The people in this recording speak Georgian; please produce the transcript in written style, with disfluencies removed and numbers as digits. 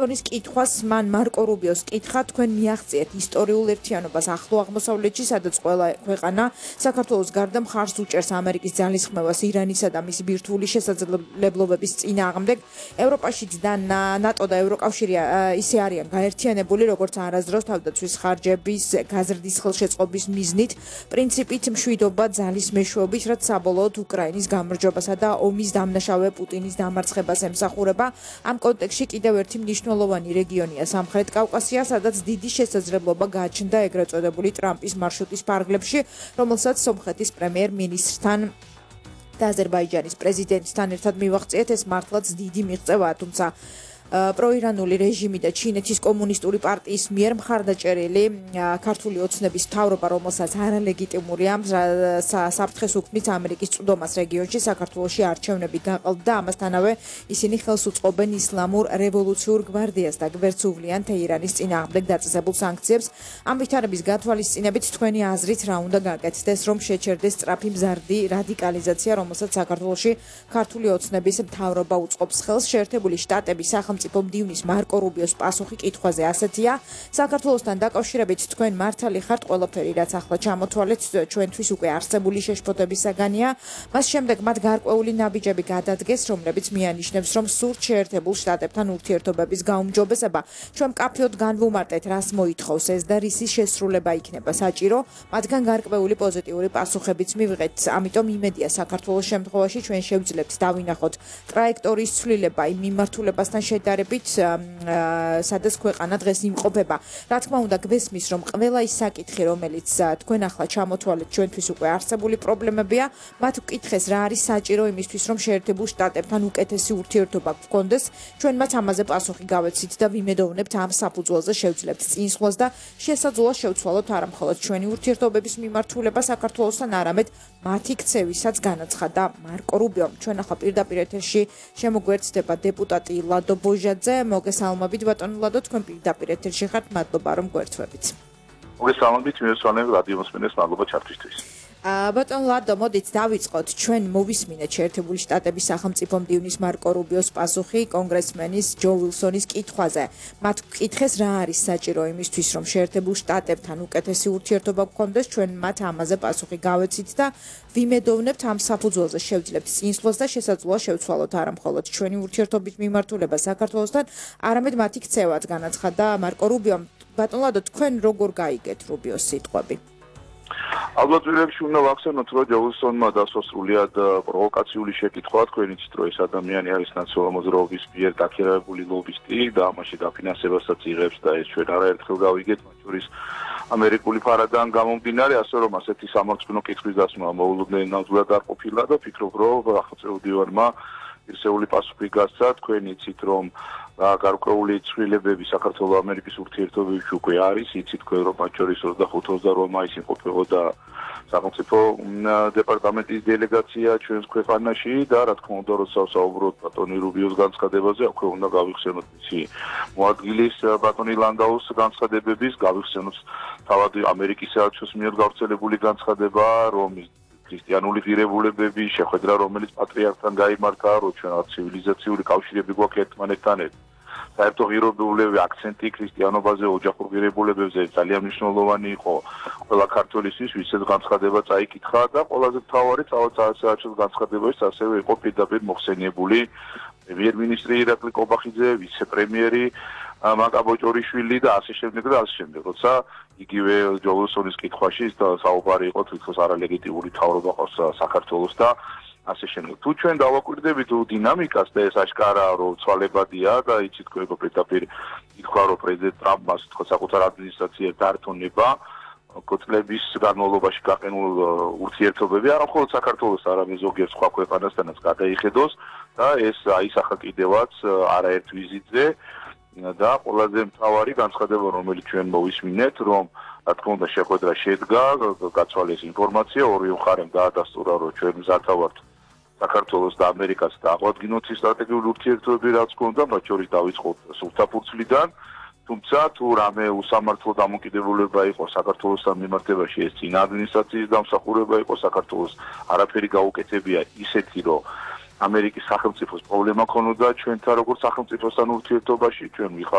Nis კითხვას მან მარკო რუბიოს კითხა თქვენ მიაღწიეთ ისტორიულ ერთიანობას ახლო აღმოსავლეთში, სადაც ყველა ქვეყანა საქართველოს გარდა მხარს უჭერს ამერიკის ძალისხმევას ირანისა და მისი ბირთვული შესაძლებლობების წინააღმდეგ. ევროპაშიც და ნატო და ევროკავშირი ისე არიან გაერთიანებული, როგორც არასდროს თავდაცვის ხარჯების გაზრდის ხელშეწყობის მიზნით, პრინციპით მშვიდობა ძალის მეშვეობით, რაც საბოლოოდ უკრაინის გამარჯვებასა და ომის დამნაშავე პუტინის დამარცხებას ემსახურება. Am კონტექსტში კიდევ ერთი მნიშვნელოვანი რეგიონია სამხრეთ კავკასია, სადაც დიდი შესაძლებლობა გააჩნდა ეგრეთ წოდებული ტრამპის მარშრუტის ფარგლებში, რომელსაც სომხეთის პრემიერ-მინისტრთან და აზერბაიჯანის პრეზიდენტთან ერთად მივაღწიეთ. ეს მართლაც დიდი მიღწევაა, თუმცა პროირანული რეჟიმი და ჩინეთის კომუნისტური პარტიის მიერ მხარდაჭერილი ქართული ოცნების მთავრობა, რომელსაც არალეგიტიმურია საფრთხეს უქმნის ამერიკის წვდომას რეგიონში, საქართველოში არჩევნები გაყალბდა. ამასთანავე ისინი ხელს უწყობენ ისლამურ რევოლუციურ გვარდიას და გვერდს უვლიან თეირანის წინააღმდეგ დაწესებულ სანქციებს. ამ ვითარების გათვალისწინებით თქვენი აზრით რა უნდა გაკეთდეს, რომ შეჩერდეს სწრაფი მზარდი რადიკალიზაცია, რომელსაც საქართველოში ქართული ოცნების მთავრობა უწყობს ხელს. შეერთებული შტატების სახელმწიფო მდივნის მარკო რუბიოს პასუხი კითხვაზე ასეთია: საქართველოსთან დაკავშირებით თქვენ მართალი ხართ, ყველაფერი რაც ახლა ჩამოთვალეთ ჩვენთვის უკვე არსებული შეშფოთების საგანია. მას შემდეგ მათ გარკვეული ნაბიჯები გადადგეს, რომლებიც მიანიშნებს, რომ სურთ შეერთებულ შტატებთან ურთიერთობების გაუმჯობესება. ჩვენ მკაფიოდ განვუმარტეთ, რას მოითხოვს ეს და რისი შესრულება იქნება საჭირო. მათგან გარკვეული პოზიტიური პასუხებიც მივიღეთ. ამიტომ იმედია საქართველოს შემთხვევაში ჩვენ შევძლებთ დავინახოთ ტრაექტორიის ცვლილება იმ მიმართულებასთან შედარებით, სადაც ქვეყანა დღეს იმყოფება. რა თქმა უნდა, გვესმის, რომ ყველა ის საკითხი, რომელიც თქვენ ახლა ჩამოთვალეთ, ჩვენთვის უკვე არსებული პრობლემებია, მათ ვკითხეს რა არის საჭირო იმისთვის, რომ შეერთებულ შტატებთან უკეთესი ურთიერთობა გქონდეს. ჩვენ მათ ამაზე პასუხი გავეცით და ვიმედოვნებთ ამ საფუძველზე შევძლებთ წინსვლას და შესაძლოა შევცვალოთ არა მხოლოდ ჩვენი ურთიერთობების მიმართულება საქართველოსთან, არამედ მათი ქცევისაც განაცხადა მარკო რუბიომ. ჩვენ ახლა პირდაპირ ეთერში შემოგვერთდება დეპუტატი ლადო ბოჟაძე. მოგესალმებით ბატონო ლადო, თქვენ პირდაპირ ეთერში ხართ, მადლობა რომ გვერთვებით. მოგესალმებით, მივესალმებ რადიო მოსმენელს, მადლობა ჩართვისთვის. ბატონო ლადო, მოდით დავიწყოთ. ჩვენ მოვისმინეთ შეერთებული შტატების სახელმწიფო მდივნის მარკო რუბიოს პასუხი კონგრესმენის ჯო ვილსონის კითხვაზე. მათ ვკითხეს რა არის საჭირო იმისთვის, რომ შეერთებულ შტატებთან უკეთესი ურთიერთობა გქონდეს. ჩვენ მათ ამაზე პასუხი გავეცით და ვიმედოვნებთ ამ საფუძველზე შევძლებთ წინსვლას და შესაძლოა შევცვალოთ არა მხოლოდ ჩვენი ურთიერთობით მიმართულება საქართველოსთან, არამედ მათი ქცევაც განაცხადა მარკო რუბიომ. ბატონო ლადო, თქვენ როგორ გაიგეთ რუბიოს სიტყვები? ალბათ პირველში უნდა ვახსენოთ, რომ ჯო ვილსონმა დასვა სრულიად პროვოკაციული შეკითხვა. თქვენ იცით, რომ ეს ადამიანი არის ნაციონალური მოძრაობის მიერ დაქირავებული ლობისტი და ამაში დაფინანსებასაც იღებს და ეს ჩვენ არაერთხელ გავიგეთ, მათ შორის ამერიკული ფარადან გამომდინარე, ასე რომ ასეთი სამართლიანო კითხვის დასმა მოულოდნელად არ ყოფილა და ფიქრობ, რომ ახალწეულ დივანმა ისეული პასუხი გასცა. თქვენ იცით, რომ გარკვეული ცვლილებები საქართველოს ამერიკის ურთიერთობებში უკვე არის. იცით თქვენ, რომ მათ შორის 25-28 მაისს იმყოფებოდა სახელმწიფო დეპარტამენტის დელეგაცია ჩვენს ქვეყანაში და რა თქმა უნდა, როცა საუბრობთ ბატონი რუბიოს განცხადებაზე, აქვე უნდა გავიხსენოთ მისი მოადგილის ბატონი ლანდაუს განცხადებების, გავიხსენოთ თავად ამერიკის საელჩოს მიერ გავრცელებული განცხადება, რომ ქრისტიანული ღირებულებების შეხვედრა, რომელიც პატრიარქთან გაიმართა, რომ ჩვენ ცივილიზაციური კავშირები გვაქვს ერთმანეთთან. საერთო ღირებულებები აქცენტი ქრისტიანობაზე, ოჯახურ ღირებულებებზე ძალიან მნიშვნელოვანი იყო ყველა ქართველისთვის, ვისაც განცხადება წაიკითხა და ყველაზე მთავარი საელჩოს განცხადებაში ასევე იყო პირდაპირ მოხსენიებული პრემიერ-მინისტრი ირაკლი კობახიძე, ვიცე-პრემიერი მაკა ბოჭორიშვილი და ასე შემდეგ და ასე შემდეგ. როცა იგივე ჯო ვილსონის კითხვაში საუბარი იყო თვითონ არალეგიტიმური მთავრობა ყავს საქართველოს და ასე შემდეგ. თუ ჩვენ დავაკვირდებით დინამიკას და ეს აშკარაა, რომ ცვალებადია და იცით თქვენ პირდაპირ ითქვა, რომ პრეზიდენტ ტრამპმა თქო საკუთარ ადმინისტრაციას დაერთონება კოწლების განმავლობაში გაყენულ ურთიერთობები არა მხოლოდ საქართველოს, არამედ ზოგიერთ სხვა ქვეყანასთანაც გადაიხედოს და ეს აისახა კიდევაც არაერთ ვიზიტზე და ყველაზე მთავარი განცხადება, რომელიც ჩვენ მოვისმინეთ, რომ რა თქმა უნდა შეხვედრა შედგა, გაცვალეს ინფორმაცია, ორივე მხარემ დაადასტურა, რომ ჩვენ მზარდა ვართ საქართველოს და ამერიკას დააღვადგინოთ სტრატეგიული ურთიერთობები, რაც გქონდა, მათ შორის დავიწყოთ სულთაფურცლიდან. თუმცა თუ რამე უსამართლო დამოკიდებულება იყო საქართველოსთან მიმართებაში, ეს წინა ადმინისტრაციის დამსახურება იყო საქართველოს არაფერი გაუკეთებია ისეთი, რომ ამერიკის სახელმწიფოს პრობლემა ქონოდა ჩვენთან როგორც სახელმწიფოსთან ურთიერთობაში, ჩვენ